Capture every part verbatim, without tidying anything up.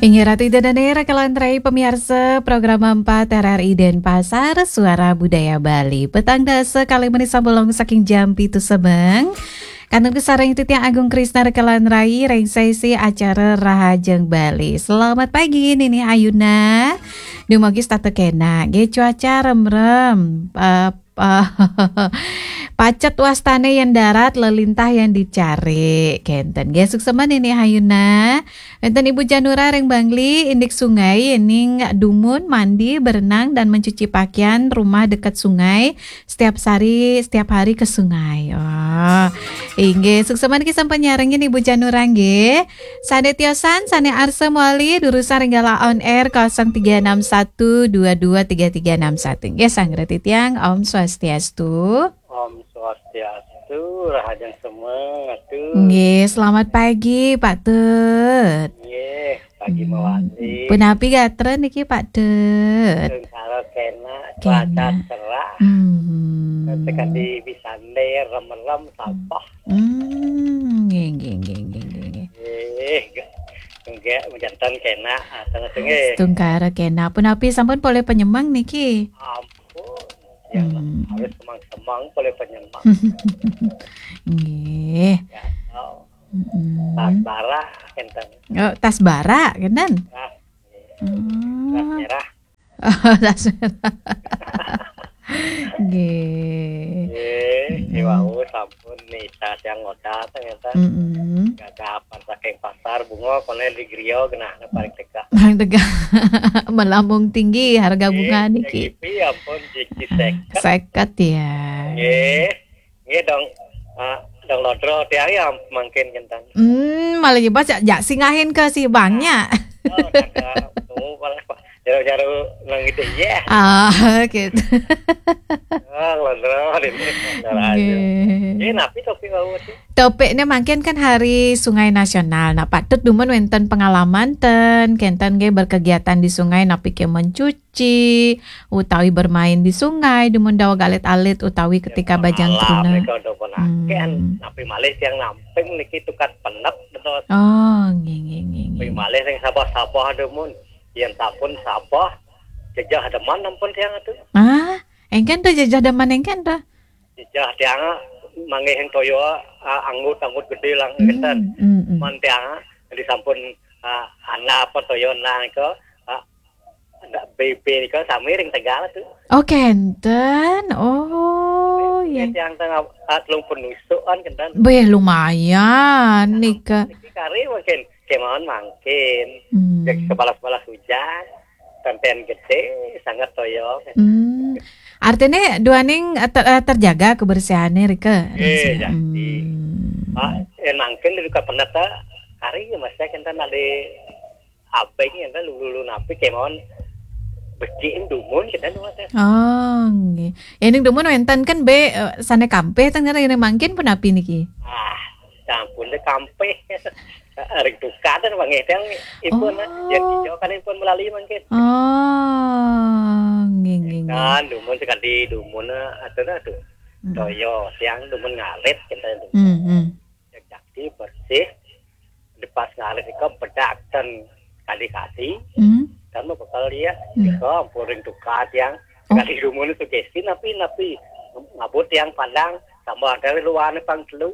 Inggih Ratu Ida Dane, Raka lan Rai, pamiarsa Program empat R R I Denpasar, Suara Budaya Bali. Petang dasa kalih menit sampun longos saking jam pitu semeng. Kantun kasareng titiang Agung Krisna, Raka lan Rai, ring sesi acara Rahajeng Bali. Selamat pagi, Nini Ayuna. Dumugi setata kenak. Nggih, cuaca remrem. Eh, eh, pacet wastane yen darat, lelintah yang dicari. Kenten. Nggih, suksema Nini Ayuna. Wenten Ibu Janura ring Bangli, indik sungai, yening dumun, mandi, berenang, dan mencuci pakaian rumah dekat sungai. Setiap hari, setiap hari ke sungai. Oh, inggih, suksema niki sampun nyarengin Ibu Janura nggih. Sane tiosan, sane arsa mawali, durusang ring galah on air kosong tiga enam satu dua dua tiga tiga enam satu. Nggih, sang reti tiang, Om Swastiastu. Om Swastiastu, Rahajeng semeng, Ratu. Nggih, selamat pagi, Pak Tut. Nggih, pagi Hmm. mawali. Punapi gatra niki, Pak Tut? Tungkara kenak, Kenak. cuaca cerah. Hmm. Sekadi bisande remerem sabah. Hmm, nggih, nggih, nggih, nggih, nggih, nggih. Nggih, nggih, janten kenak, ah, tengah tengah. Tungkara kenak. Punapi sampun polih penyemeng niki? Ampun. Ya, Hmm. harus semang-semang polih penyemeng. Nggih. Ya, tahu. Mm-mm. Tas bara, kenten. Oh, tas bara, kenten? Nah, Hmm. tas merah. Oh, tas merah. Nggih. Nggih, Mm-mm. wau sampun nita tiang ngoda, ternyata. Mm-mm. Gadah apa saking pasar, bunga, kono di griya, genah, paling tegak. Paling tegak. Melambung tinggi harga Nggih, bunga niki. G P ampun, G P seket. Seket, ya. Nggih. Nggih, dong, ah, dong lodro tiang ya mangkin kenten. Hmm, malah nyebas jak, jak singahin ke si banknya. Oh, ada, oh, malah, jaru-jaru nang itu, ya. Ah, gitu. Ah, lodro, ini, lodro aja. Nggih. Nggih, napi topik wau sih? Topiknya mangkin kan Hari Sungai Nasional. Nah, Pak Tut dumun wenten pengalaman ten, kenten nggih berkegiatan di sungai, napi ke mencuci, utawi bermain di sungai, dumun daweg alit-alit, utawi ketika bajang truna. Nika do pun akeh, Hmm. napi malih tiang namping niki tukad penep, betul. Oh, nggih, nggih, nggih, Napi nggih. malih sing sabah-sabah dumun. Yen sampun sabah, jejeh demen ampun tiang atu. Ah, engken to jejeh demen engken to? Jejeh tiang manggih toya, ah, anggut-anggut gede lang Hmm, kenten. hmm, hmm. Man tiang, di sampun, ah, ana apa toya nang nika, ah, ndak B B nika sami ring Tegal tu. Oh, kenten. Oh, Nggih, ya. tiang tengah, ah, telung penusuk kan kenten. Beh, lumayan nika. Niki kari mangkin, kemawon mangkin. Hmm. Jek sebalas-balas hujan, tempen gede, sangat toya. Hmm. Artine duaning, eh, ter-, eh, terjaga kebersihannya, Rika? Nggih, Rika. Jati. Hmm. Ah, eh, mangkin di duka peneta, kari ya, Mas, ya, kenten ada abeng, kenten lulu-lulu napi, kemawon becik dumun, kenten, Mas, ya. Oh, nggih. Ya, ning dumun wenten kan be, eh, sane kampih ten, kan, ini mangkin punapi niki? Ah, sampun deh kampih. Ring tukad ten, Bang, ya, yang ipun, Oh. ya, hijau kan ipun melali mangkin. Oh, nggih, nggih, nggih. Kan, dumun sekadi dumun, eh, atuh, atuh. Hmm. Toya, tiang dumun ngalit, kenten. Hmm, hmm. Jati bersih, lepas ngarit nika bedak ten kali-kali, Hmm. kan mau bekal dia, Hmm. nika ampun ring tukad tiang, Oh. sekali dumun sugesti napi, napi ngabut tiang pandang, tambah dari luar ni pang telu.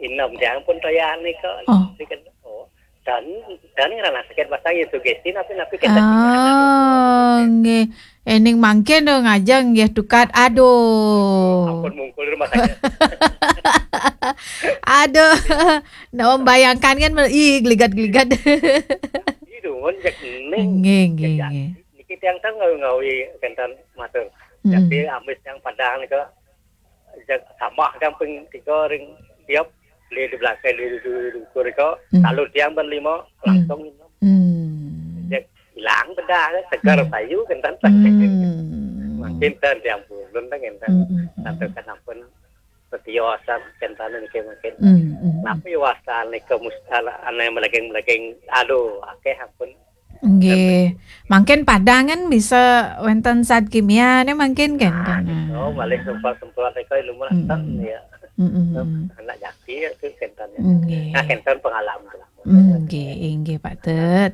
Inem tiang pun toya nika. Oh. Nika, oh. Dan, dan ngerana sakit batang ya sugesti napi, napi kenten. Oh, nggih. Ening mangkin do ngajeng nggih tukad. Aduh. Ampun mungkul rumah sakit. Aduh. Nah, membayangkan kan, ih, geligat-geligat. Ih, dumun, jek ening. Nggih, nggih, Jek nggih. Niki tiang tau ngawi-ngawi kenten matur. Hmm. Jadi ambis tiang padang nika, jek tambah tiang ping tiga ring tiap, li di belakang, li di, di, di dukur nika, Hmm. lalu tiang ben lima, Hmm. langsung minum. Hmm. Jek ilang bedah, segar Hmm. payu kenten. Hmm. Mangkin ten tiang pulun ten kenten. Hmm, hmm, hmm. Santukan ampun setiosan kenten niki mangkin. Hmm, hmm, hmm. Napi wastan nika mus-, ala, ane melegeng-melegeng. Aduh, akeh ampun. Nggih. Mangkin padang kan bisa wenten zat kimia ne mangkin kan. Nah, kan. Gitu. Malih semprot-semprot nika ilmu Hmm. ten ya. Hmm, hmm, hmm. Anak jati ya tu kenten. Nggih. Nah, kenten pengalaman. Nggih, inggih, Pak Tut.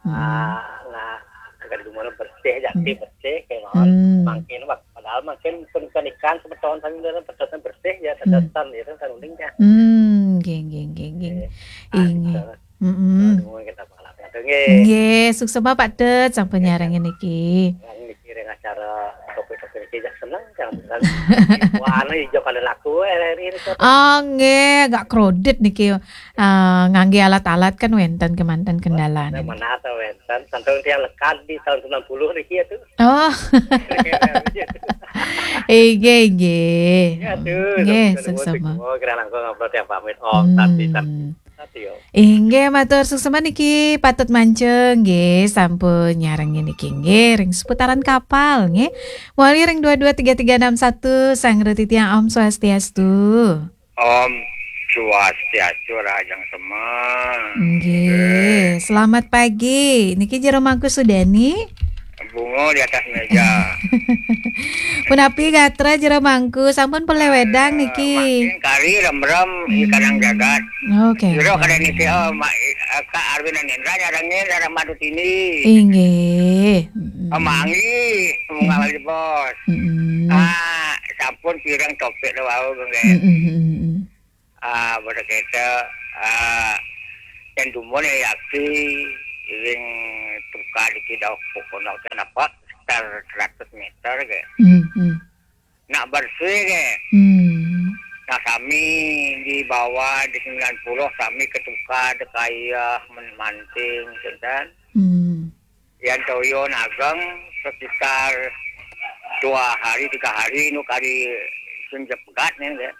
Hmm. Ah, nah, agar dumun bersih, jati Hmm. bersih, kayak mawon. Hmm. Mangkin, wak-, padahal mangkin pun ikan semeton sami dalam pedotan bersih ya, Hmm. pedotan ya, kan uning ya. Hmm, nggih, nggih, nggih, nggih. Nggih. Ah, Inggih. gitu. Mm-mm. Dumun kita malam ya, nggih. Nggih, suksma Pak Tut, sampun Nggih, nyarengin niki. Yang niki ring acara topik-topik niki ya seneng, jangan bukan. Wah, anu ijo kali laku, eh, ini tuh. Oh, nggih, agak kredit niki. Ah, ngangge alat-alat kan wenten kemanten kendalane. Nah, mana ada wenten, sampai tiang lekad di tahun sembilan puluh niki ya tuh. Oh. Inggih, inggih. Ya tuh, Nggih, nuwun suksma. Nuwun, kira langkung ngobrol tiang pamit. Om, Hmm. Santi, Santi. Santi, yo. Inggih, matur suksma niki Pak Tut Mancung nggih sampun nyarengin niki nggih ring seputaran kapal nggih. Mawali ring dua dua tiga tiga enam satu, sareng titiang Om Swastiastu. Om Swastiastu, rahajeng sema. Nggih, Nggih. Selamat pagi. Niki Jero Mangku Sudani. Bunga di atas meja. Punapi gatra Jero Mangku, sampun pelih wedang niki. Makin kari remrem di Hmm. Kanang Jagat. Oke. Jero kada niki, oh, ma-, eh, Kak Arwin Anindra nyarengin sareng Madutini. Inggih. Mm-mm. Amanggi, bunga Mm-mm. lagi bos. Mm-mm. Ah, sampun pirang topik lo wau, nggih. Mm-mm, mm-mm. Ah, pada kita, ah, yang dumun ya yaki, ring tukad iki dauh pokoknya kenapa sekitar seratus meter ke. Hmm, hmm. Nak bersih ke. Hmm. Nah, kami di bawah di sembilan puluh, kami ke tukad, kaya men-, manting, gitu kan. Hmm. Yang toyo nageng sekitar dua hari, tiga hari, nu kari sing jepegat nih, ya.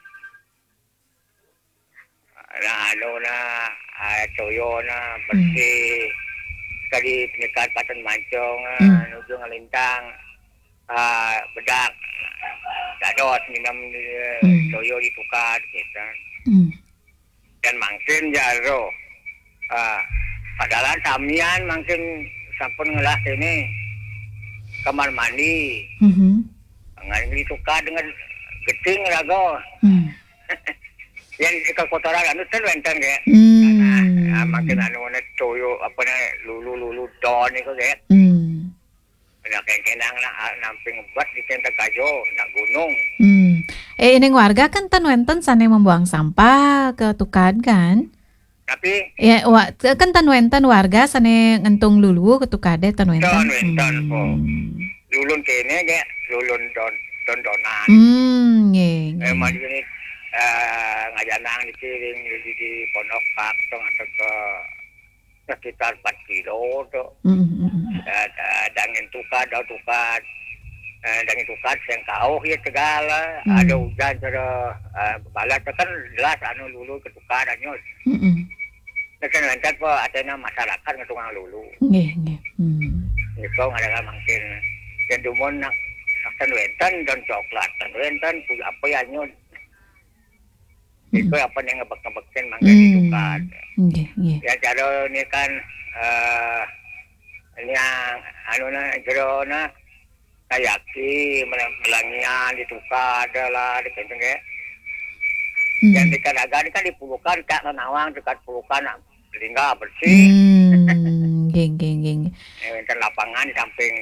Nah, anu nah, ah, toyo nah, Hmm. bersih. Sekali penyekat paten mancung, ah, Hmm. nuju ngelintang, ah, bedak. Dados minum di, Hmm. toyo ditukad, gitu. Hmm. Dan mangkin jaro. Ah, padahal samian mangkin sampun ngelah kene kamar mandi. Mhm. Ngan ditukad dengan geting raga. Hmm. Yang di kotoran anu ten wenten, ya. Hmm. Nah, nah, makin anu ne toyo, apa ne, lulu-lulu don itu, ya. Hmm. Nah, kengkenang nak, ah, namping bat di tenda kajo, nak gunung. Hmm. Eh, ining warga kan ten wenten sane membuang sampah ke tukad, kan? Tapi Ya, wa-, kan ten wenten warga sane ngentung lulu ke tukade ten wenten. Ten wenten, Hmm. po. Lulun kene, ge, lulun don, don-donan. Hmm, nggih, Eh, nggih. Mari ini, eh, ngajanang di kiring, di, di pondok pak, tong atau ke sekitar empat kilo tu. Hmm, hmm, hmm. Eh, eh, dangin tukad, dau tukad. Eh, dangin tukad, sing kauh ya tegal, eh. Hmm. Ada hujan, ada, eh, balas, kan jelas anu lulu ke tukad, anyut. Hmm, hmm. Nah, kan lancar po, atena masyarakat ngetungang lulu. Nggih, nggih. Hmm. Itu ngadakan mangkin. Dan dumun nak, akan wenten dan coklat, dan wenten, pu-, apa ya, anyut. Hmm. Itu apa yang ngebek-ngebekin mangga Hmm. ditukar. Nggih, nggih. Ya, cara ini kan, eh, ini yang, anu na, jero na, kayaki, mel-, melangian ditukar, ada lah, di kenteng, ya. Hmm. Yang di Kadaga ini kan di Pulukan, tak nawang dekat Pulukan, nak, tinggal bersih. Hmm, nggih, nggih, nggih, nggih. Eh, wenten lapangan di samping.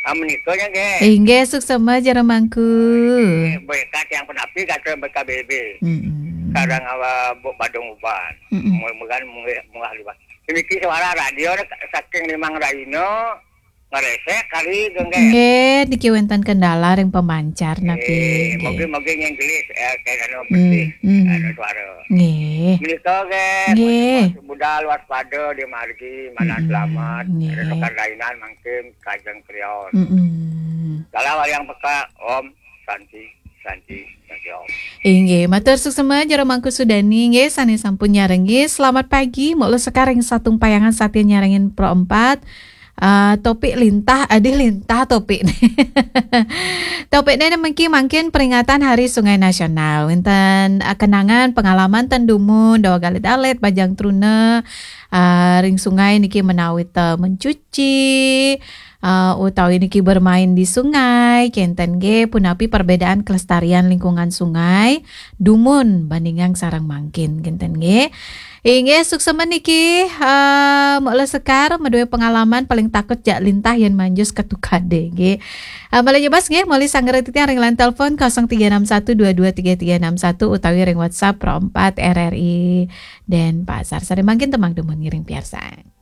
Ah, menikahnya, nggih. Inggih, suksma jero mangku. Nggih, berkat yang penapi kata B K B B. Mm-mm. Kadang awak bu-, badung uban. Mm-mm. Mul-, mugan mungah, mungah liwat. Niki suara radio ni saking limang raino, ngeresek kali, nggih. Nggih, niki wenten kendala ring pemancar napi, Eh, nggih. Mungkin, mungkin yang jelas, eh, kayak anu Hmm, bersih, hmm. Anu suara. Nggih. Menika, nggih, Nggih. Budal waspada di margi, manah Mm-mm, selamat. Nggih. Rekan lainan mangkin kajeng krios. Mm-mm. Dalam yang peka, Om Santi, Santi, Santi, Om. Inggih, matur suksma jero mangku Sudani, nggih, sane sampun nyarengi. Selamat pagi, mula sekaring satung payangan satia nyarengin Pro empat. Ah, topik lintah, adih lintah topik ne. Topik ne mengki mangkin peringatan Hari Sungai Nasional. Wenten, ah, kenangan, pengalaman ten dumun, dawa galit-alit, bajang truna, ah, ring sungai niki menawi te mencuci, ah, utawi niki bermain di sungai, kenten nggih, punapi perbedaan kelestarian lingkungan sungai, dumun bandingang sareng mangkin, kenten nggih. Inggih, suksma niki, eh, Mbok Laskar madué pengalaman paling takut jak lintah yén manjus ketukade, nggih. Eh, malih nyebas nggih, malih sanggeran titiang ring line telepon kosong tiga enam satu dua dua tiga tiga enam satu utawi ring WhatsApp Pro empat R R I Denpasar. Sare mangkin tembang dumun ngiring piarsang.